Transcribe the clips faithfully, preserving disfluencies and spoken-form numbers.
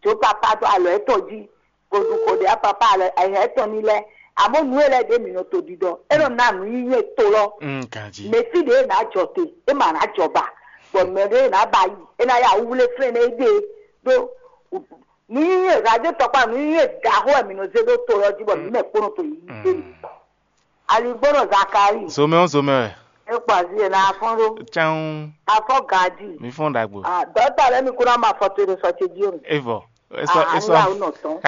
Jǒ papa dó alɔ étɔn jí, bó ɖu xo ɖě papa alɔ ayǐhɛ́n tɔn ní lɛ́ɛ. Amɔ̌ nǔ e lɛ́ɛ ɖě mǐ nɔ to ɖiɖɔ, é nɔ ná nǔ nyinyɛ to lɔ. Mm, ganjí. Mɛ fí ɖě e nǎ jɔ te, é ma nǎ jɔ ba, bɔ mɛ ɖě e nǎ ba yi, é ná yá wúwlé flɛ́n nú éɖée ɖó. Nǔ nyinyɛ radio tɔkpá nǔ nyinyɛ ɖaxó wɛ mǐ nɔ zé ɖó to lɔ jí, bɔ mǐ mɛ kpó nɔ to yi yí. Aligbónɔ Zakari, Zomɛ ɔ́ zomɛ wɛ. é kpa zi e na afɔn ɖó. Tsan Afɔ gaji. Mi fɔn ɖagbo. Ah, dɔta lɛ mi kuna ma fɔ to ɖo sɔ ce jí o. Evɔ. Esɔ Ah, esɔ. ya o nɔ tɔn.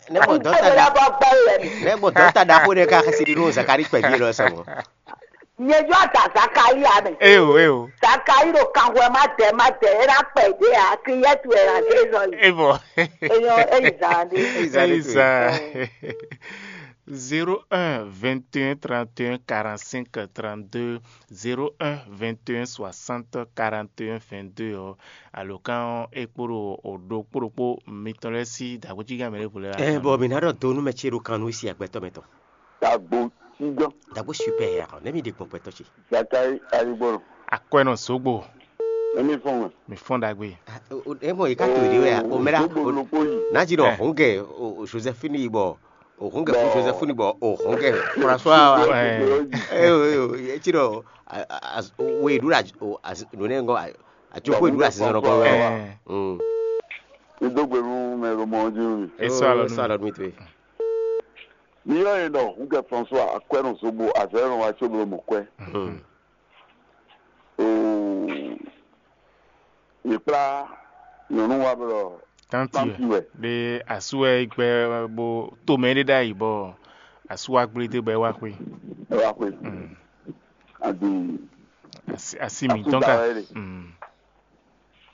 Ne bɔ dɔta Nkpɛlɛ da bɔ gbɛ yɛ mi. ne bɔ dɔta da ko ɖe ka xɛsi ɖi ɖo Zakari kpɛ vi lɔ sɛ mɔ. Nye jɔ da Zakari ya mɛ. Eyo eyo. Zakari ɖo kanwɛ ma dɛ ma dɛ, e na kpɛ ɖe a, ki yɛ tu ɛ na de zɔ yi. Evɔ. Enyɔ eyi zan ɖe. Eyi zan ɖe Eyi to. zan. Zéro un vingt et un trente et un quarante-cinq trente-deux, zéro un vingt et un soixante quarante et un vingt-deux ɔ́, alǒkan ɔ́ é kpo ɖo o ɖokpó ɖokpó mitɔn lɛ́ɛ sí dǎgbójígán mɛ ɖěvo lɛ́ɛ. Ɛ bɔ mi na ɖɔ do nú mɛ ce ɖo kan nú si agbɛtɔ mɛ tɔn. Dagbo tigán. Dagbo super ya ne mi ɖe gbɔn gbɛtɔ ce. Zakai Aligbɔnɔ. Akwɛnɔ Zogbo, Emi fɔn wɛ. mi fɔn ɖagbe. E mɔ yi ka to ɖe wɛ o mɛ la. Zogbo loko yi. N'a dzi ɖɔ Eh. hɔn gɛ o Josephine yi bɔ o hɔn gɛ fún Bɔ- Josephine bɔ o hɔn gɛ François wa. Eh. Eyo eyo etsi ɖɔ a- a- a- wo yi ɖu la o asi nune ŋgɔ a- atsoko yi ɖu la sisan nɔ kɔ wɛ. Eh. Mm. Mi dó gbe nú mɛ ɖo mɔ ɔ́ jí nú mi. Esɔ alɔ Esɔ nú. Alɔ nú mi to ye. Mi yɔ yẹn ɖɔ Hungɛ François Akwɛnɔ Zogbo azɔ̌ e nɔ wa có bló mɔ kwɛ. Mm. Oo. Mi kplá nyɔ̌nu wa blɔ Tanti tanti wɛ. wɛ. Ɖe asu wɛ gbɛ bo to mɛ ɖe ɖ'ayi bɔ asu wa gblé dé bɔ é wá xwé. Ɛ wá xwé. Mm. Adi Asi asi mi tɔn ka. Mm.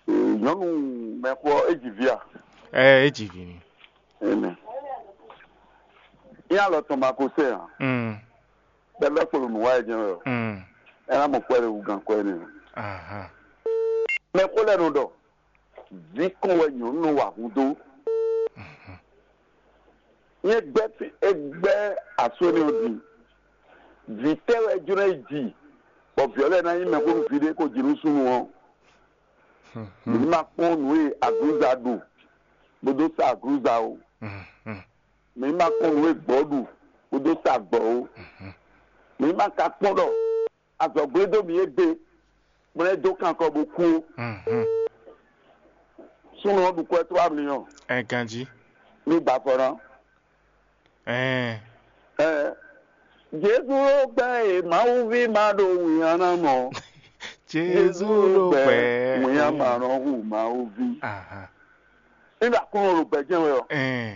Nyɔnu mɛxɔ edzi via. Ɛ edzi vi ni. Ɛnɛ. Ní alɔ tɔn ma ko sɛ hàn. Mm. Bɛbɛ kpolo nù wá yɛ jẹun yɔ. Mm. Ɛ ná mɔ kpɛ ɖe wú gan kpɛ nɛ. Aha. Mɛxɔ lɛ nɔ ɖɔ. Vikɔn wɛ nyɔnu nɔ wa hun dó. Nyɛ gbɛ fi egbɛ aso ni o di. Vǐ tɛ́ wɛ jlɔ́ yi ji, bɔ vǐ ɔ́ lɛ́ɛ ná nyí mɛxónú vǐ ɖé ko ji nú súnnu ɔ́. Mǐ ní ma kpɔ́n nǔ e aglǔza ɖu, bó dó sa aglǔza o. Mm. Mm. Mǐ ní ma kpɔ́n nǔ e gbɔ̌ ɖu, bó dó sa gbɔ̌ o. Mǐ ní ma ka kpɔ́n ɖɔ azɔ̌gblédó mǐ égbé, bó lɛ́ dó kan kɔ bó kú ó. Mm. Súnnu ɔ́ ɖu kwɛ́ tló amliyɔn, Ɛ ganjí. ní gbafɔ ná. Ɛ. Ɛ, Jezu ló gbɛ́ e Mawu ví ma ɖo wǐnyaná mɔ. Jezu ló gbɛ. Wǐnyaná nɔ hu Mawu ví. Aha. Nígbà kúrò ló gbɛ jẹ́ wɛ ɔ. Ɛ.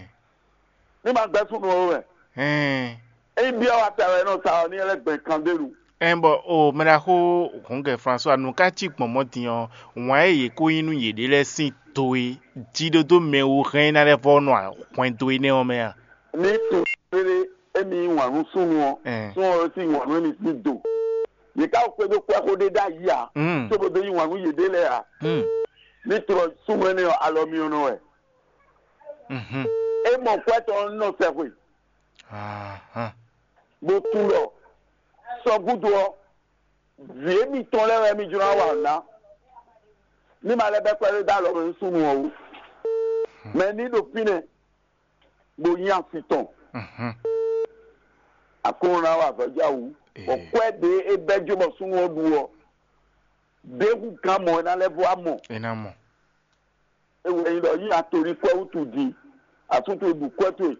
Ní ma gbẹ́ súnnu ɔ́ wɛ. Ɛ. Eyi bí ɔ́ wa ta wɛ nɔ sa ɔ ní ɛlẹ́ gbẹ̀n kan dé lu. Ɛ bɔ o mɛɖaxó Hungɛ François nu ká cí gbɔn mɔ̌ din ɔ́, wǎn e yě kó nyí nú yěɖée lɛ́ɛ sín do e jíɖódó mɛ wú hɛn ná lɛ́ vɔ́ nɔ hwɛndo énɛ́ ɔ́ mɛ a? Ní tun rere émi yí wǎn nú súnnu ɔ́, Ɛ. súnnu ɔ́ sì wǎn nú émi sín do. Yě ká xwedó kpɛ́ xó ɖé ɖ'ayǐ ǎ, Mm. cóbó dó yí wǎn nú yěɖée lɛ́ɛ ǎ. Mm. Ní tlɔ súnnu énɛ́ ɔ́ alɔ myɔnɔ wɛ. Mhm. É mɔ kwɛ́ tɔn nɔ sɛxwe, Ahan. bó tunwun ɖɔ sɔgúdo ɔ́, vǐ émítɔn lɛ́ɛ wɛ mí jló ná wa nǔ ná. Ní ma lɛ́ bɛ́ kpɛɖé dó alɔ mɛ nú súnnu ɔ́ wú. Mɛ ní ɖo fínɛ́, bó nyí asi tɔn. Mhm. Aklúnɔ ná wa avɔ̌já wú. Bɔ Ee. Kwɛ́ ɖě é bɛ́ jó bɔ súnnu ɔ́ ɖu ɔ́, ɖěhú gán mɔ é ná lɛ́ vɔ amɔ. É ná mɔ. É wɛ nyí ɖɔ yí atolí kwɛ́ wútu din, asú towe ɖu kwɛ́ towe,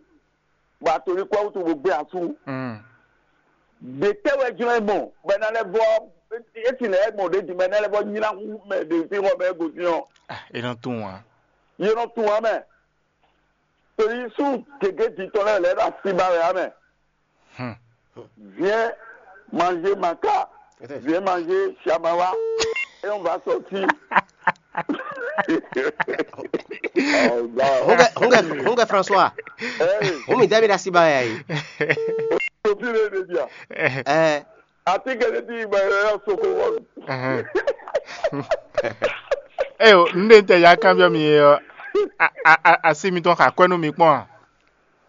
bɔ atolí kwɛ́ wútu bó gbé asú. Mm. Ɖě tɛ́ wɛ jlɔ́n é mɔ, bɔ é ná lɛ́ vɔ, é ti lɛ́ mɔ ɖě din, bɔ é ná lɛ́ vɔ nylá hú mɛ ɖě fí xɔ mɛ é gosín ɔ́. Ah, é nɔ tunwun ǎ. Yě nɔ tunwun ǎ mɛ. Torí sú gěgé din tɔn lɛ́ɛ lɛ́ ɖo así ba wɛ ǎ mɛ. Hmm. Viens manger maca. Viens manger chamawa. Et on va sortir. Oh, là. Hungɛ hungɛ hungɛ François. Hey, Humi dɛbi da siba ya yi. Sophie le media. Ɛ Ati kele ti ba ya soko won. Ɛhɛn. Eo, n ɖe n tɛ ya kanbyɔ mi ɔ. A a a asi mitɔn xa kwɛ nú mi kpɔn a?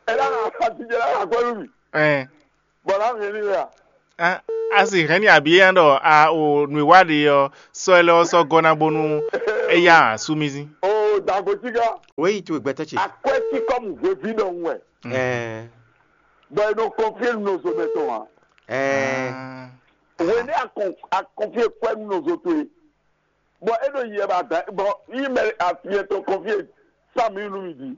Ela ati jela la ko mi. Ɛn. Bɔla mi ni ya. A asi hɛn ni abi yan ɖɔ a o nui wa ɖe ɔ sɔ ɛlɛ ɔ sɔ gɔ na bonu eya asu mi zin. Oh, Dagbotígá. Wéyi towe gbɛtɔ́ ce. Akwɛ́ tí kɔ́mu hweví ɖɔhun wɛ. Ɛɛ. Bɔ è nɔ kɔnfíe nɔzo mɛ tɔn ǎ. Ɛɛ. Hwenu akɔn akɔnfíe kwɛ́ nú nɔzo towe. Bɔ é ɖo yɛ ba da bɔ yí mɛ afiyɛ tɔn kɔnfíe sami nú mi di.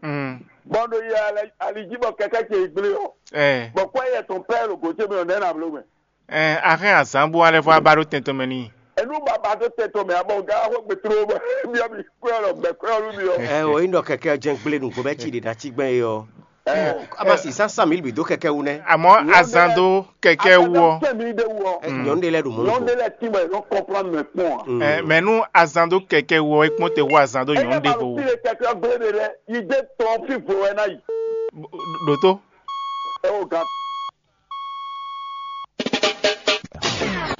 Bɔ ɖo yɛ ali jí bɔ kɛkɛ ce yi gblé ɔ. Ɛɛ. Bɔ kwɛ́ yɛ tɔn pɛ́ ɖo gǒ ce mɛ ɔ nɛ́ na bló mɛ. Ɛɛ, a hɛn azǎn bó alɛ fɔ a ba ɖó tɛn tɔn mɛ n'i. Enu baba ɖó tɛn tɔn mɛ abɔ ga xɔ gbɛtlo bɔ bia mi kwɛ lɔ gbɛ kwɛ lɔ mi ɔ. Ɛ o, yin ɖɔ kɛkɛ jɛn gble nǔgbó bɛ ci ɖe na ci gbɛn e ɔ. Ɛ, a ma si sá sami bi dó kɛkɛ wu nɛ. Àmọ́ azan dó kɛkɛ wú ɔ. Tɛ mi de wɔ. Nyɔnu de lɛ ɖo mɔ Nyɔnu de lɛ ti mɛ nɔ kɔnplan mɛ kpɔn a. Ɛ, mɛ nú azan dó kɛkɛ wú ɔ, é kpɔn te wú azan dó nyɔnu de bo wú. Fi le kɛkɛ gble de lɛ yi de tɔn fi vo wɛ na yi. Ɖo tó. Ɛ o gan.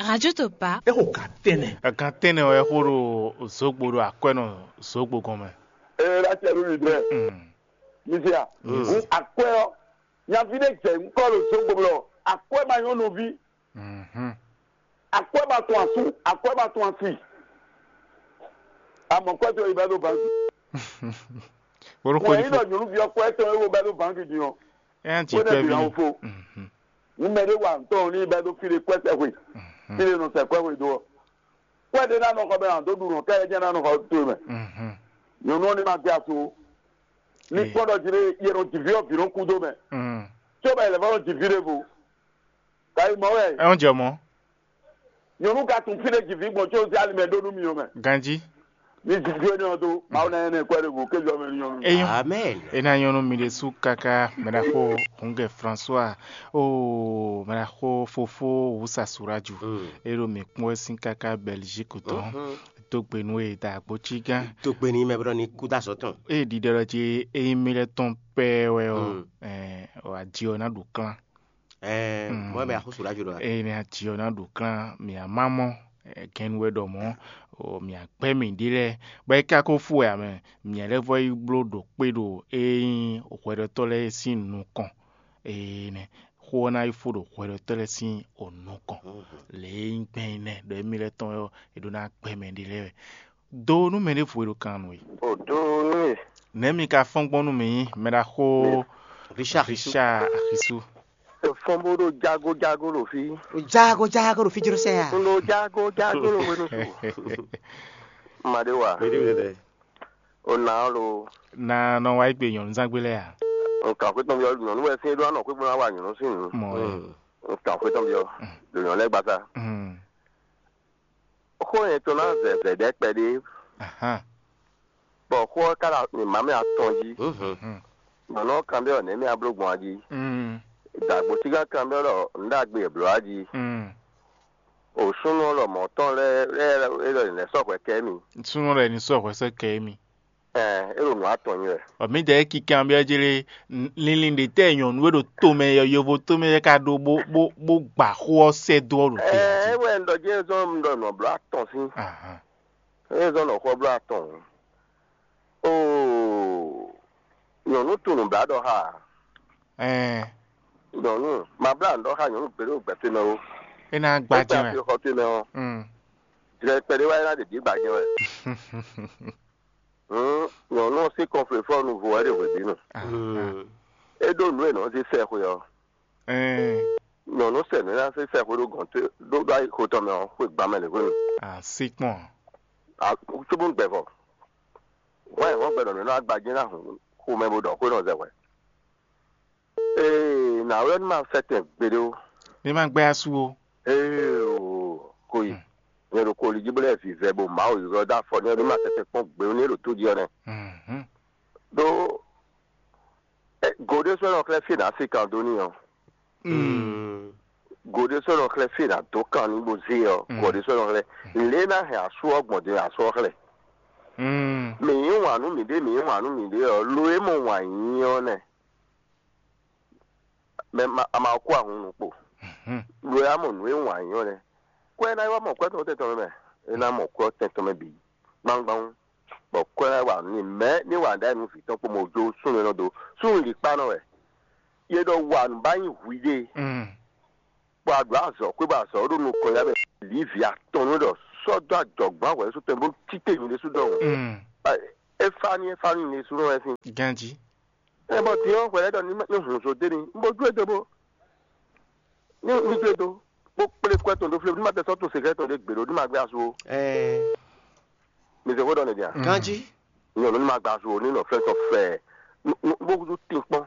Radio Topa. É xo gǎn tɛ́nnɛ. Gǎn tɛ́nnɛ wɛ xó ɖo zǒgbo ɖo akwɛ́nɔ zǒgbo gɔn mɛ. Ee, la cɛ ɖo mi dɛ. Mm. Mi se a. Mm. Akwɛ ɔ, nyavi ɖe jɛ ŋkɔ ɖo zǒgbo blɔ akwɛ ma nyɔ́ nɔví. Mhm. Akwɛ ma tún asú, akwɛ ma tún asi. Amɔ kwɛ tɔn yi bɛ ɖo banki. Bolo Mɛ kɔni yi fo. Nɔ nyɔnuvi ɔkwɛ tɔn yi wo bɛ ɖo banki din ɔ. Ɛ ti Wé kwɛ nɛ bi bi na ni. Wo fo. Mhm. Ŋun mɛ ɖé wa ŋutɔn ní bɛ ɖo fi ɖe kwɛ sɛ hwe. Mhm. Fi ɖe nɔ sɛ kwɛ hwe do ɔ. Kwɛ ɖé na nɔ xɔ bɛ na dó ɖu nɔ kɛ jɛ na nɔ xɔ to mɛ. Mhm. Nyɔnu ɔ ní ma gbé aso. Ní Ee. Kpɔ́n ɖɔ jí ɖé yɛ nɔ jǐví ɔ vǐ nɔ kú dó mɛ. Mhm. Tí ó bɛ yɛ lɛ fɔ nɔ jǐví ɖé vo. Ka yi mɔ wɛ. Ɛ ń jẹ mọ́. Nyɔnu ka tun fi ɖe jǐví gbɔn tso zé alimɛ ɖó nú mi ɔ́ mɛ. Ganjí. Ní jǐví énɛ́ ɔ́ dó, Mawu ná nyɛ nɛ kwɛ́ ɖěvo kéjɔ mɛ ní nyɔnu. Eyɔn. Amen. E na nyɔnu mi ɖe sú kaka mɛ ɖaxó Hungɛ François o mɛ ɖaxó fofó Wusa Suraju. Mm. E ɖo mi kpɔ́n wɛ sín kaka Belgique tɔn. Mhm. Dó gbe nú e da agbo cí gán. Tó gbe ní mɛ bɔ ní kú dá sɔ́ tɔn. E ɖiɖɔ ɖɔ jí eyín mi lɛ tɔn pɛɛ wɛ ɔ. Mm. Ɛ, ɔ, adi ɔ ná ɖu klán. Ɛɛ, Mm. Mɔ mɛ axóso ɖo ajo ɖɔ. Eye ne ati ɔ na ɖu klán mia ma mɔ gɛnnu wɛ ɖɔ mɔ̌, mia gbɛ́ mǐ ɖi lɛ́ɛ, bɔ é ka ko fú wɛ ǎ mɛ, mia lɛ́ vɔ yi bló ɖo kpé ɖo e nyí hwɛɖɔtɔ́ lɛ́ɛ sín nukɔn. Eye nɛ xó ɔ́ ná yi fó ɖo hwɛɖɔtɔ́ lɛ́ɛ sín nukɔn. Lě e nyí gbɛn énɛ́ ɖɔ émí lɛ́ɛ tɔn wɛ ɔ́, è ɖó ná gbɛ́ mɛ ɖi lɛ́ɛ wɛ. Do nú mɛ ɖěvo e ɖo kan nú we. O do nú we. Nɛ̌ mi ka fɔ́n gbɔn nú mǐ, mɛ ɖaxó Richard Axisu. Richard Axisu? Fɔ́n bó ɖo jágójágó ɖo fí. Jágójágó ɖo fí jló sɛ ya. Un ɖo jágójágó ɖo hwenu su. Maɖé wa. Mɛɖé wɛ lɛ. O na ɔ́ lo. Na nɔ wá gbe nyɔ̌nu zán gbé lɛ́ɛ a? Nkan xwé tɔn byɔ́ nyɔ̌nu wɛ sín é ɖó anɔ xwé gbɔn ná wa nyɔ̌nu sín nǔ. Mɔ ɛ. Nkan xwé tɔn byɔ́. Ɖo nyɔ̌nu lɛ́ɛ gbasa. Mm. Xó nyɛtɔn ná zɛ vɛ̌ɖɛ́ kpɛɖé, Ahan. Bɔ xó ɔ́ ka ɖo mǐmá mɛ atɔn jí. Mhm. Nyɔ̌nu ɔ́ kanbyɔ́ nɛ̌ mì a bló gbɔn a jí? Mm. Dǎgbótígán kanbyɔ́ ɖɔ nǔ ɖagbe e blǒ a jí. Mm. O súnnu ɔ́ lɔmɔ̌ tɔn lɛ́ɛ lɛ́ɛ é ɖɔ è nɛ̌ sɔ́ hwɛ kɛ émí. Súnnu lɛ́ɛ ní sɔ́ hwɛ sɛ́ kɛ émí. Ɛɛ, é ɖo nǔ atɔn nyi wɛ. Ɔ, mǐdɛɛ é kíkan byɔ́ jlé, linlin ɖě tɛ́ nyɔ̌nu e ɖo tomɛ yɔ yovo tomɛ lɛ́ɛ ka ɖó bó bó bó gba xó ɔ́ sɛ́ dó ɔ́ ɖo te Ɛɛ, jí. É wɛ un ɖɔ jí é zɔ́n un ɖɔ nǔ ɔ́ bló atɔn sín. Ahan. É zɔ́n nɔ xó ɔ́ bló atɔn. Oo, nyɔ̌nu tunwun nǔbláɖɔxá. Ɛɛ. Nyɔ̌nu, ma blá nǔ ɖɔ xá nyɔ̌nu gbeɖé ɖo gbɛtɔ́ mɛ ó. É ná gba É jɛ́n wɛ. Xɔ towe mɛ ɔ́, Mm. Jlɛ kpɛɖé wá é ná ɖe bǐ gba jɛ́n wɛ. Hǔn nyɔ̌nu ɔ́ sín kɔnflefɔ́nu vo wɛ ɖe hwebǐnu. Ahan. É ɖó nǔ e nɔ zé sɛxwe ɔ́. Ɛɛ. Nyɔ̌nu sɛ nǔ e ná zé sɛxwe ɖó gɔ̌n towe ɖó ɖó ayi xo tɔn mɛ ɔ́, xwe gban mɛ lě hwenu. Así kpɔn. Cóbó gbɛ vɔ. Hwɛn hɔn gbɛ ɖɔ nǔ e nɔ agbají ná hun xomɛ bó ɖɔ xó nɔ zɛ hwɛ. Ee, nǎwe ɔ́ ní ma sɛ́ tɛn gbeɖé ó. Ní ma gbɛ́ asú ó. Ee, o, ko yi. Nyɛ ɖo koli jí bó lɛ́ vǐvɛ́ bó Mawu ylɔ́ dó afɔ n'i ɔ́, ní ma sɛ́ tɛn kpɔ́n gbe ó ní é ɖo tó jí ɔ́ nɛ́. Mhm. Ɖó go ɖé sɔ́ nɔ xlɛ́ fí è nǎ sí kan dó n'i ɔ́. Mm. Go ɖé sɔ́ nɔ xlɛ́ fí è nǎ dó kan n'i bó zé ɔ́, Mm. Gɔ ɖé sɔ́ nɔ xlɛ́. Lě e ná hɛn asú ɔ́ gbɔn din asú ɔ́ xlɛ́. Mm. Mǐ yí wǎn nú mǐɖée, mǐ yí wǎn nú mǐɖée ɔ́, lo e mɔ wǎn yí ɔ́ nɛ́. Mɛ ma a ma kó ahun nukpo. Mhm. Lo e a mɔ nǔ e wǎn yí ɔ́ nɛ́. Kó ɛ ná yi wá mɔ kwɛ́ tɔn tɛn tɔn mɛ. É ná mɔ kwɛ́ tɛn tɔn mɛ bǐ gbangban. Bɔ kwɛ́ ná wa nú mɛ ní wa ɖ'ayǐ nú vǐ tɔn kpó mɛ wǒ jó súnnu e nɔ dó. Súnnu lǐkpá nɔ wɛ. Yě ɖɔ wa nǔ bá nyí hwiɖée. Mm. Bɔ a ɖǒ azɔ̌ xwé bɔ azɔ̌ ɖo nukɔn ya mɛ lǐ vǐ atɔn nú ɖɔ sɔ́ dó ajɔ̌gbɔ́n ahwɛ̌ sú tɔn bó títí mi ɖésú dɔn. Mm. É fa ní é fa ní ní sú nɔ wɛ sín. Ganjí. Ɛ bɔ din ɔ́ hwɛlɛ́ ɖɔ ní ní hun zo dé ní un bó jó e dó bó ní ní jó e dó bó kplé kwɛ tɔn dó flé ní ma tɛ sɔ́ tún sekɛ́ tɔn ɖé gbě ɖó ní ma gbé asu ó. Ɛɛ, Mi se xó ɖɔ nɛ dia? Ganjí. Nyɔnu ní ma gbé asu ó ní nɔ flɛ́ tɔn fɛ bó húzú tin kpɔ́n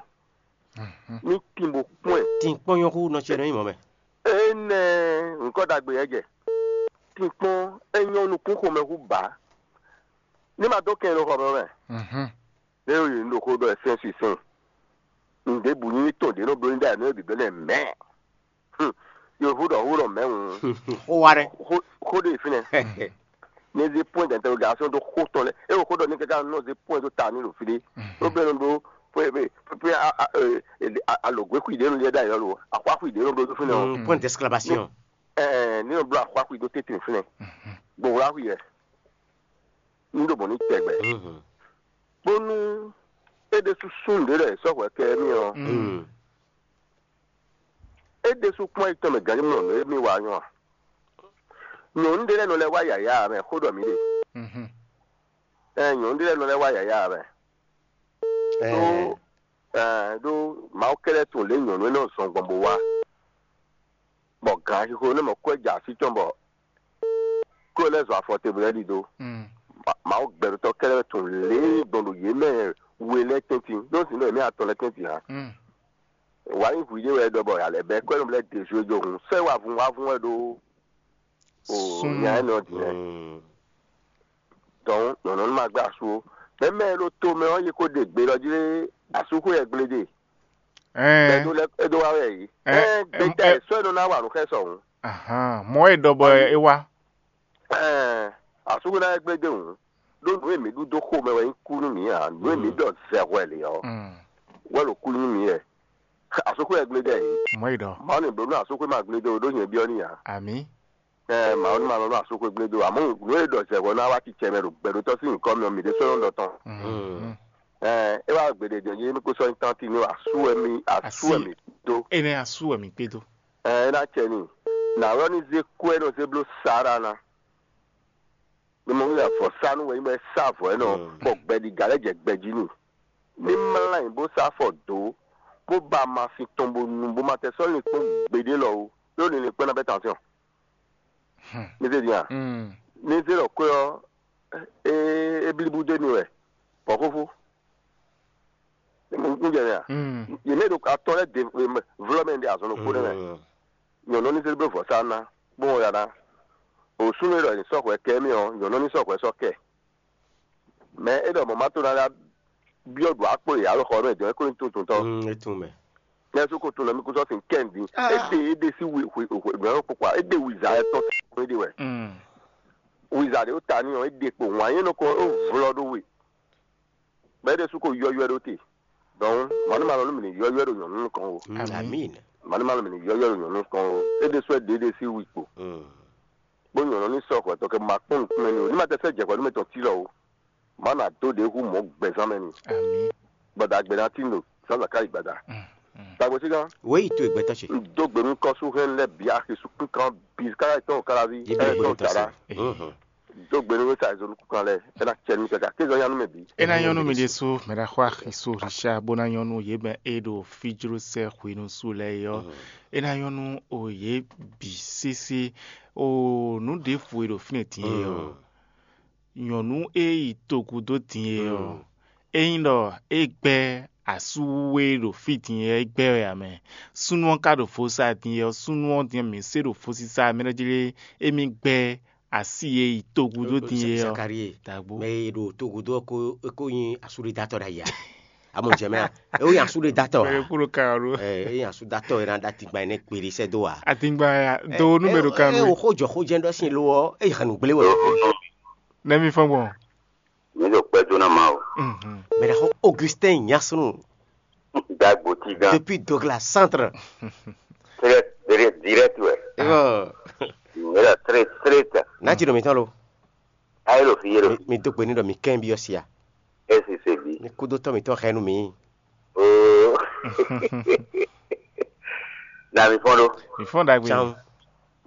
ní tin bó kpɔ́n ɛ. Tin kpɔ́n nyɔ́ hú nɔ ce nɔ nyí mɔ̌ mɛ. Énɛ́ nǔkɔ ɖagbe yɛ jɛ tin kpɔ́n é nyɔ́ nukún xomɛ hú bǎ ní ma dó kɛn ɖo xɔ mɛ mɛ. Ɖé yě un ɖo xó ɖɔ ɛ sɛ́n sísɛ́n. Nǔɖébǔ nyí tɔn ɖě nɔ bló ní ɖ'ayǐ nú é bǐ blɛ́ nɛ mɛ̌. Yovo ɖɔ xó ɖɔ mɛ̌ hǔn. Xó wa ɖɛ. Xó ɖe fínɛ́. Ní zé point d'interrogation ɖó xó tɔn lɛ́ɛ. É wo xó ɖɔ ní káká nɔ zé point ɖó ta ní ɖo fí ɖé. Ɖó bɛ́ nɔ ɖó pé pé pé alǒgwé xwi ɖě nɔ lɛ́ ɖ'ayǐ ɔ́ lo. Axwá xwi ɖě nɔ bló ɖó fínɛ́ ɔ́. Point d'exclamation. Ɛɛ ní nɔ bló axwá xwi ɖó tɛ́ntin fínɛ́. Gbowlá xwi yɛ. Ní ɖo mɔ̌ ní tɛgbɛ. Bónú é ɖésú súnnu ɖě lɛ́ɛ sɔ́ hwɛ kɛ émí ɔ́, é ɖésú kpɔ́n yi tɔn mɛ gǎn mɔ nǔ e mì wa nyɔ́ a? Nyɔ̌nu ɖé lɛ́ɛ nɔ lɛ́ wá yǎyá ǎ mɛ, xó ɖɔ mǐ ɖe. Ɛɛ nyɔ̌nu ɖé lɛ́ɛ nɔ lɛ́ wá yǎyá ǎ mɛ. Ɖó ɛɛ ɖó Mawu kɛ́ɖɛ́ tunwun lě nyɔ̌nu énɛ́ ɔ́ zɔn gbɔn bó wá, bɔ gǎn xixo énɛ́ mɔ kɔ́ ja así tɔn bɔ kó lɛ́ zɔ afɔ te bó lɛ́ ɖidó. Mawu gbɛɖotɔ́ kɛ́ɖɛ́ wɛ tunwun lě e gbɔn ɖo yě mɛ we lɛ́ɛ tɛ́ntin, ɖó sin ɖɔ yě mɛ atɔn lɛ́ɛ tɛ́ntin ǎ. Wǎ nyí hwǐ ɖé wɛ é ɖɔ bɔ alɛ bɛ́ kɔ́ nɔ lɛ́ ɖe zwe jó hǔn sɛ́ wavun wavun wɛ ɖó o nya énɛ́ ɔ́ din lɛ́ɛ. Dɔn nyɔ̌nu ma gbé asú ó. Mɛ mɛ e ɖo to mɛ ɔ́ yi ko ɖe gbe lɔ jí lé asúxwé wɛ gble ɖe. Ɛɛ Ɛdo lɛ Ɛdo wa wɛ yi. Ɛɛ Ɛɛ, gbeta ɛ- ɛ sɔ e nɔ na wa nǔ xɛ sɔ hǔn. Ahan, mɔ e ɖɔ bɔ é wá. Ɛɛ asúxwé na wɛ gble ɖe hǔn. Ɖó nǔ e mǐ ɖu dó xo mɛ wɛ nyí kú nú mǐ ǎ. Nǔ e mǐ ɖɔ zɛ hwɛ lě ɔ́, Mm, wɛ ɖo kú nú mǐ wɛ. Asúxwé wɛ gble ɖe yi. Mɔ e ɖɔ. Mawu ni bló nú asúxwé ma gble ɖe o ɖó nyɛ byɔ́ n'i ǎ. Ami. Ɛɛ Mawu ní ma lɔ nú asúxwé gblé dó, amɔ̌ nǔ e ɖɔ zɛ̌ hwɛ ná wá cicɛ mɛ ɖo gbɛɖótɔ́ sín nyǐkɔ mɛ ɔ́, mǐ ɖésú nɔ ɖɔ tɔn. Ɛɛ é wá gbeɖé jɛ yé mì kó sɔ́ nyí tánti ní asú wɛ mì asú wɛ mì dó. Énɛ́ asú wɛ mǐ kpé dó. Ɛɛ é ná cɛ n'i. Nǎ wɛ ní zé kú e nɔ zé bló Sara ná. Mɛ mɔ wíwá vɔ̌sánú wɛ nyí bɔ é sá avɔ énɛ́ ɔ́, bɔ gbɛɖiga lɛ́ jɛ gbɛ jí n'i. Ní mlá nyi bó sá afɔ dǒ, bó ba amasin tɔn bó nu, bó ma tɛ sɔ́ linkpɔ́n gbeɖé lɔ ó, ɖó ní linkpɔ́n ná bɛ́ tansyɔn. Mi se din a? Ní zé ɖɔ kwé ɔ́, é é blíbú dó émí wɛ, bɔ xóxó. Un jɛ mɛ a? Yě mɛ ɖo atɔn lɛ́ɛ de vlɔ́ mɛ ɖe azɔn ɖokpó nɛ́ mɛ. Nyɔ̌nu ní zé bló vɔ̌sá ná, bó wɔn ya ná. Òsúnú e ɖɔ è nǐ sɔ́ hwɛ kɛ émí ɔ́, nyɔ̌nu ní sɔ́ hwɛ sɔ́ kɛ. Mɛ é ɖɔ mɔ̌ ma to ná ɖá byɔ́ ɖo akpó e alɔ xɔ mɛ dɔn é kó ní tuntun tɔn. Mm, é tún mɛ. Nɛ su ko tun nɔ mi kó sɔ sin kɛndi. Ah. Ede ede si wi wi wi wi wi kpokpa ede wiza ɛ tɔn si ede wɛ. Mm. Wiza de o ta ni ɔ ede kpo wan yé nɔ kɔ o vlɔ ɖo we. Bɛ ede su ko yɔyɔ ɖo te. Donc mɔni ma lɔ nu mi ni yɔyɔ ɖo nyɔnu nukɔn o. Mm, Amin. Amin. Mɔni ma lɔ mi ni yɔyɔ ɖo nyɔnu nukɔn o. Ede sɔ ede ede si wi kpo. Mm. Bó nyɔnu ni sɔ xɔ tɔ kɛ ma kpɔn nukun mɛ ni o. Ni ma tɛ sɛ jɛ xɔ nu mɛ tɔn ti lɔ o. Má nà dó ɖě hú mɔ̌ gbɛzán mɛ ni. Amǐ. Gbɔdagbe ná tín ɖo zǎnzǎn káyi gbada. Mm, mm. Tagbo sí gán. Wěyi towe gbɛtɔ́ ce. Un dó gbe nú kɔ́súhɛn lɛ́ɛ bǐ axi sukún kan bǐ kára tɔn kára ví. Yé bɛ́ gbé tɔ́ se. Dó gbe nú wéta zolú kan lɛ́ɛ é ná cɛ nú kɛkɛ akézɔ nyanu mɛ bǐ. É ná nyɔ́ nú mi ɖésú mɛ ɖaxó axi so Richard bó ná nyɔ́ nú yě mɛ e ɖo fí jló sɛ hwenu su lɛ́ɛ é ɔ́. Mm. É ná nyɔ́ nú o yě bǐ sésé. O nǔ ɖěvo e ɖo fínɛ́ din é ɔ́. Mm. Nyɔ̌nu e yi togun dó din é ɔ́, ényí ɖɔ é gbɛ́ asú e ɖo fí din é gbɛ́ wɛ ǎ mɛ, súnnu ɔ́ ka ɖo vo sa din é ɔ́, súnnu ɔ́ din ɔ́, mǐ se ɖo vo sisa mɛ ɖé jí lé, émí gbɛ́ así e yi togun dó din é ɔ́. Zakarie, dagbo. Mɛ e ɖo togun dó ɔ́ ko é ko nyi asúɖedatɔ ɖ'ayǐ ǎ. Amɔ jɛ mɛ a? É ko nyi asúɖedatɔ ǎ. Mɛ e kúɖo kan ɔ́ ɖó. Ɛ é nyi asúɖedatɔ e ná ɖó atingban énɛ́ kpeɖé sɛ́ dó ǎ. Atingban ya do nú mɛ ɖo kan ɛ nú. Xó jɔ xó jɛ́n ɖɔ sín lo ɔ́, é yi hanu gblé wɛ. Nɛ́ mi fɔ́n gbɔn? Mi ɖo kpɛ́ dó ná Mawu. Mhm. Mɛ ɖaxó Augustin Nyasunu Dagbo ti gán. Depuis Douglas Centre. Très très direct wɛ. Ɔ, Mi ɖo très très. N'a ti ɖo mi tɔn lo. Ayi ɖo fi yé ɖo Mi fi. Mi do gbe ni ɖɔ mi kɛn bi ɔsia. Esi se bi. Mi kudo tɔ mi tɔ xɛ nu mi. Oo. Na mi fɔn ɖo. Mi fɔn dagbe. Tsan.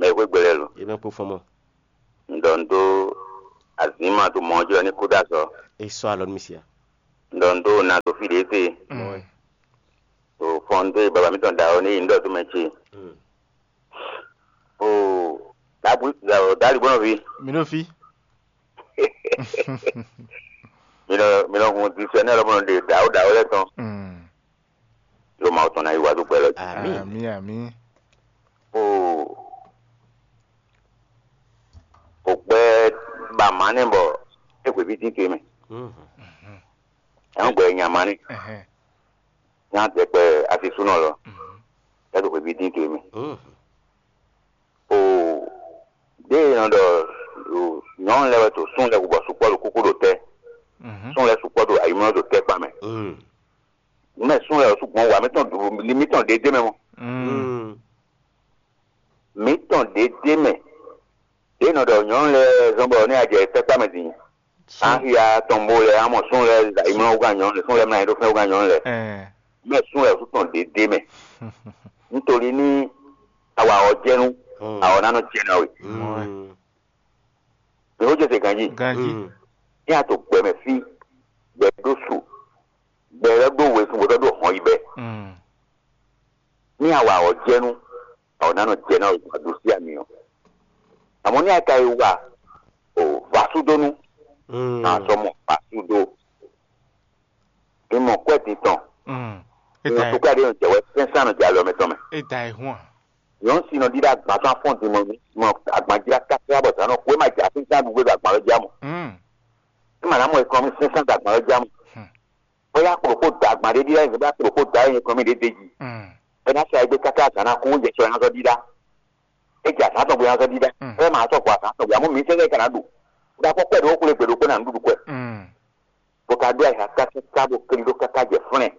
Mɛ xwe gbɛlɛ lo. Ye mɛ kpo fɔn mɔ. Ŋdɔ ŋdo Azǐma ɖo mɔ̌ jí ɔ́ ní kú dó azɔ̌. É sɔ́ alɔ nú mì sia. Un ɖɔ un ɖó na ɖo fí ɖě te. Mm. Ɖo fɔn dó baba mǐtɔn ɖa ɔ́ ní yi un ɖɔ dó mɛ ce. Mm. O ɖàbí ɖàlígbɔnɔví. Mi ɖo fí. Mi nɔ mi nɔ hun disɛnɛ lɔ mɔ ɖe ɖawo ɖawo lɛ́ɛ tɔn. Mm. Ɖo Mawu tɔn ná yi wá dó gbɛ lɔ jí. Ami. Ami, ami. O o gbɛ ba ma nɛ bɔ e hweví dín to e mɛ. Mhm. Ɛn gbɛ nya ma nɛ. Ɛhɛn. Nya dɛ gbɛ asisúnɔ lɔ. Mhm. E ɖo hweví dín to e mɛ. Mhm. O ɖe e nɔ ɖɔ o nyɔnu lɛ wɛ to sún lɛ bɔ sukpɔ ɖo kúkú ɖo tɛ. Mhm. Sún lɛ sukpɔ ɖo ayimlɔ ɖo tɛ kpa mɛ. Mm. Mɛ sún lɛ o sugbɔn wa mítɔn ɖu mítɔn ɖe dé mɛ mɔ. Mm. Mm. Mǐtɔn ɖě d'é mɛ. Ɖě nɔ ɖɔ nyɔ̌nu lɛ́ɛ zɔ́n bɔ ní a jɛ tɛ́kpá mɛ din. Axia tɔn bó lɛ́ɛ amɔ sún lɛ́ɛ da imlɔ wúgán nyɔ̌nu lɛ́ɛ, sún lɛ́ɛ mlá nyi ɖó fɛ́n wúgán nyɔ̌nu lɛ́ɛ. Mɛ sún lɛ́ɛ wosú tɔn ɖě d'é mɛ. Nítorí ní a wa ɔ́ jɛ nú, a ɔ́ ná nɔ jɛ ná we. Mǐ xó jɛ se ganjí. Ganjí. Ní a to gbɛ mɛ fí, gbɛ ɖó su, gbɛ lɛ́ ɖó we sun bó tɔ́ ɖó hɔn yi bɛ́. Ní a wa ɔ́ jɛ nú, a ɔ́ ná nɔ jɛ ná we gbɔn aɖusí ami ɔ́. Àmọ́ ní a ka yi wa o vasúdónú, a sɔ mɔ vasúdó. Mi mɔ kwɛ́ din tɔn. Nɔ sukú aɖé nɔ jɛ wɛ sɛnsɛn nɔ jɛ alɔ mɛ tɔn mɛ. É da ɛ hún a? Nyɔ̌nu si nɔ ɖíɖá agban tɔn afɔ́n din mɔ mɔ agban jlá káká bɔ zǎn nɔ xwé ma jɛ asínsán ɖu gbé ɖo agban lɔ já mɔ. É ma ná mɔ ekɔn mi sɛnsɛn ɖo agban lɔ já mɔ. Bóyá kplɔkpó da agban ɖé ɖíɖá yě bá kplɔkpó da yě kɔn mi ɖé d'é jí. É ná sa ɛ gbé káká azǎn ná kú yɛ sɔ ɛ ná zɔ ɖíɖá. É jɛ azǎn tɔn gbé ná zɔ ɖíɖá. É ma sɔ gbɔ azǎn tɔn gbé amú mi sɛnsɛn ka ná ɖu. Ɖa kpɔ́ kpɛ́ ɖo xwlé gbe ɖokpó ná nǔɖuɖu kwɛ. Bó ka ɖó ayǐ káká bó keli ɖó káká jɛ flɛ́n.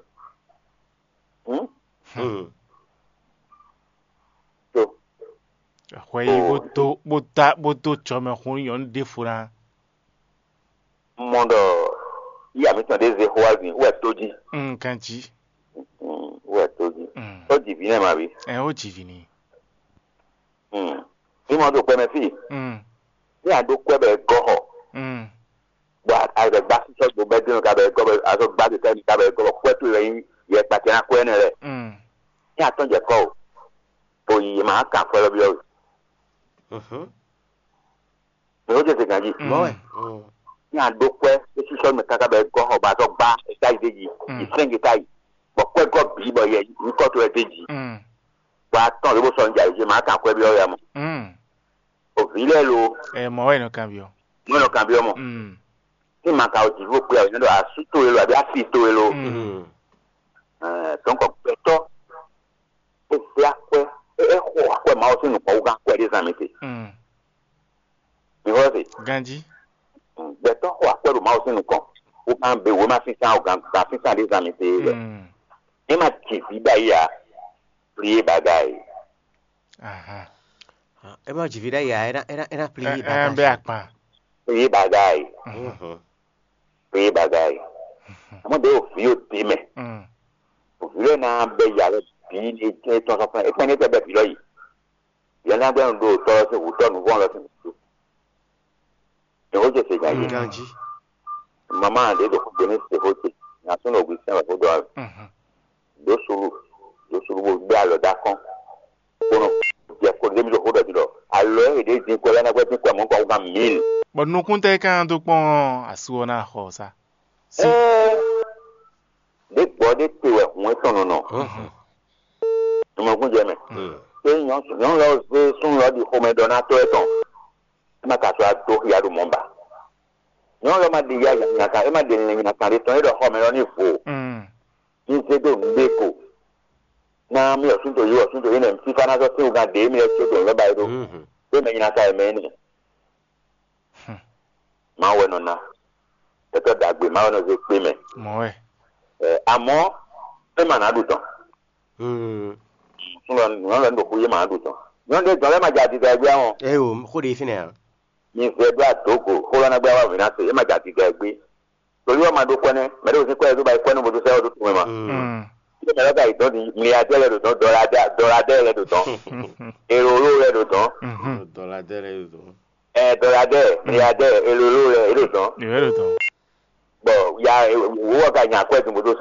Hwɛ yi bó tó bó tá bó tó tsɔ mɛ xun nyɔ̌nu ɖěfo ná. Mɔ ɖɔ yíyá mǐtɔn ɖě zé xó wá zin wɛ tó jí. Kan jí. Wɛ tó jí. Ó jì vǐ nɛ́ ma ví. Ɛ ó jì vǐ ni. Ní mɔ ɖo kpɛ mɛ fí. Ní a ɖó kwɛ́ bɔ è gɔ́ xɔ. Bɔ a bɛ gbá sísɔ gbo bɛ dínú ka bɛ gɔ́ bɛ azɔ gbá kɛkɛ ní ka bɛ gɔ́ bɔ kwɛ́ towe wɛ nyí yɛ kpatɛ ná kwɛ́ nɛ lɛ. Ní a tɔn jɛ kɔ o, bo yi ma kan kwɛ́ lɔ byɔ́ we. Mɛ ko jɛ se ganji. Mɔ wɛ. Ní a ɖó kwɛ́ é sísɔ mɛ káká bɛ gɔ́ xɔ bɔ azɔ gbá é ká yi dé ji yi sɛ́n ge ká yi, bɔ kwɛ́ gɔ́ bǐ bɔ yɛ nyǐkɔ towe dé ji. Bɔ a tɔn lě bó sɔ ní jɛ ayǐ jɛ ma kan kwɛ́ byɔ́ we a mɔ. O vǐ lɛ́ɛ lo. Ɛ mɔ wɛ nɔ kan byɔ́. Mɔ nɔ kan byɔ́ mɔ. Ní ma ka o jǐ bó kpé a o nyɛ ɖɔ asú towe lo abí asi towe lo. Dɔnk gbɛtɔ́ é zé akwɛ́ é xo akwɛ́ Mawu sín nukɔn wú gán akwɛ́ ɖé zan mi te. Mi xɔ se. Ganjí. Gbɛtɔ́ xo akwɛ́ ɖo Mawu sín nukɔn wú gán be wěma sínsán o gán gán sínsán ɖé zan mi te wɛ. É ma jǐ vǐ ɖ'ayǐ ǎ. Plié baga e. Ahan. É ma jǐ vǐ ɖ'ayǐ ǎ, é ná é ná é ná plié Ɛ ɛ baga bɛ sɔ. Akpan. Plié baga e. Plié baga e. Àmọ́ ɖe o vǐ o dé mɛ. Mm. O vǐ lɛ́ɛ ná bɛ ya lɛ bǐ ní é tɔn sɔ́ fún ẹ. É kpɛn ní é tɛ bɛ vǐ lɔ yi. Yɛn ná gbɛ́ nu ɖo tɔ́ lɔ sín hǔtɔ́ nǔvɔ́n lɔ sín hǔtɔ́. Yehó ce se nya yě. Ganjí. Mama ɖě ɖo xó gbe ní se xó ce. Nya súnnu ògùn sɛn wɛ xó ɖɔ wɛ. Mhm. Ɖǒ sulu, ɖǒ sulu bó gbé alɔ dó akɔ́n. Kónɔ jɛ kó ɖé mi ɖo xó ɖɔ jí ɖɔ alɔ e ɖě dín kɔ lɛ́ɛ ná gbɛ́ dín kɔ mɔ̌ kɔ gán mǐl. Bɔ nukúntɛ́ ka dó kpɔ́n asú ɔ́ ná xɔ sá. Sí. Ɛɛ, ɖě gbɔ ɖé te wɛ hǔn etɔn nɔ nɔ. Mhm. Nɔmɔkún jɛ mɛ. Mm. Ké nyɔ̌nu lɔ zé súnnu lɔ ɖi xomɛɖɔnátɔ́ etɔn. É ma ka sɔ́ dó xia ɖo mɔ̌ ba. Nyɔ̌nu lɔ ma ɖi ya nyakan, é ma ɖi lɛn nyakan ɖé tɔn, é ɖɔ xɔ mɛ lɔ ní vo. Mm. Ní zé dó nǔ ɖé ko. Ná mì ɔ̀súntò yí ɔ̀súntò yí nɛ fífá ná sɔ́ sín wúgán ɖě mì lɛ́ có dó nǔ lɛ́ ba é ɖó. Mhm. Ɖé mɛ nyakan e mɛ énɛ́. Hmm. Mawu wɛ nɔ ná. Tɛtɔ ɖagbe Mawu wɛ nɔ zé kpé mɛ. Mɔ wɛ. Ɛ, àmọ́ é ma ná ɖu tɔn. Mm. Súnlọ nyɔ̌nu lɛ́ɛ ɖo xú yé ma ná ɖu tɔn. Nyɔ̌nu ɖé dɔn lɛ́ɛ ma jɛ adida ɛ gbé ɔ́. Ɛ o, xó ɖe fínɛ́ ǎ. Mi vɛ ɖó adǒgo xó lɔ ná gbé wá vǐ ná se, é ma jɛ adida ɛ gbé. Torí wọ́n ma ɖó kwɛ́ nɛ́, mɛ ɖé wosín kwɛ́ e dó ba yi kwɛ́ nú vodúnṣẹ́ ɔ́ dó tunwun mɛ ma. Mm. Ilé mɛ lɔ ka yi dɔn di mliadɛ lɛ ɖo dɔn, dɔladɛ lɛ ɖo dɔn, erolo lɛ ɖo dɔn. Mhm. Dɔladɛ lɛ ɖo dɔn. Ɛ dɔyadɛ, miyadɛ, elolo lɛ, e ɖo dɔn. Ìwé ló tán. Bɔ ya wo wɔ ka nya akwɛ dun bó dó